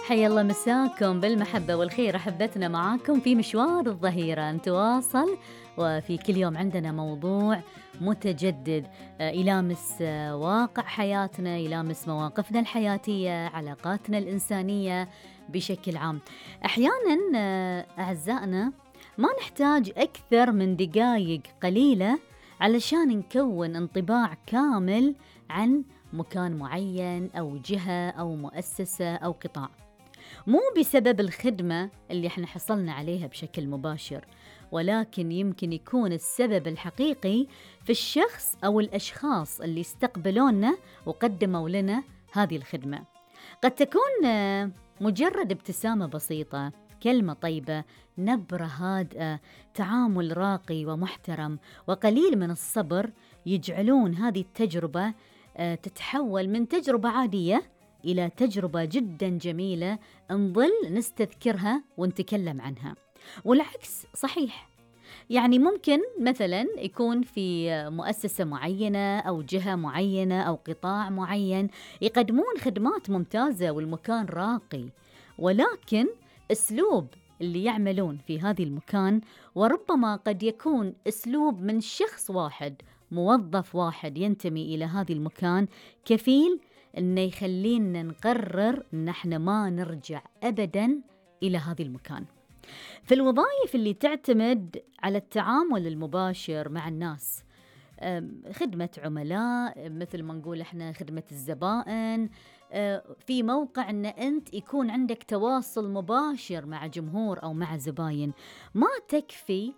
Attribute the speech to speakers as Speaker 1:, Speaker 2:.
Speaker 1: حيا الله مساكم بالمحبة والخير أحبتنا، معاكم في مشوار الظهيرة نتواصل، وفي كل يوم عندنا موضوع متجدد يلامس واقع حياتنا، يلامس مواقفنا الحياتية، علاقاتنا الإنسانية بشكل عام. أحيانا أعزائنا ما نحتاج أكثر من دقائق قليلة علشان نكون انطباع كامل عن مكان معين أو جهة أو مؤسسة أو قطاع، مو بسبب الخدمة اللي احنا حصلنا عليها بشكل مباشر، ولكن يمكن يكون السبب الحقيقي في الشخص أو الأشخاص اللي استقبلونا وقدموا لنا هذه الخدمة. قد تكون مجرد ابتسامة بسيطة، كلمة طيبة، نبرة هادئة، تعامل راقي ومحترم، وقليل من الصبر يجعلون هذه التجربة تتحول من تجربة عادية إلى تجربة جدا جميلة نظل نستذكرها ونتكلم عنها. والعكس صحيح، يعني ممكن مثلا يكون في مؤسسة معينة أو جهة معينة أو قطاع معين يقدمون خدمات ممتازة والمكان راقي، ولكن أسلوب اللي يعملون في هذه المكان وربما قد يكون أسلوب من شخص واحد، موظف واحد ينتمي إلى هذا المكان، كفيل إنه يخلينا نقرر إن احنا ما نرجع أبداً إلى هذا المكان. في الوظائف اللي تعتمد على التعامل المباشر مع الناس، خدمة عملاء، مثل ما نقول احنا خدمة الزبائن، في موقع إن أنت يكون عندك تواصل مباشر مع جمهور أو مع زباين، ما تكفي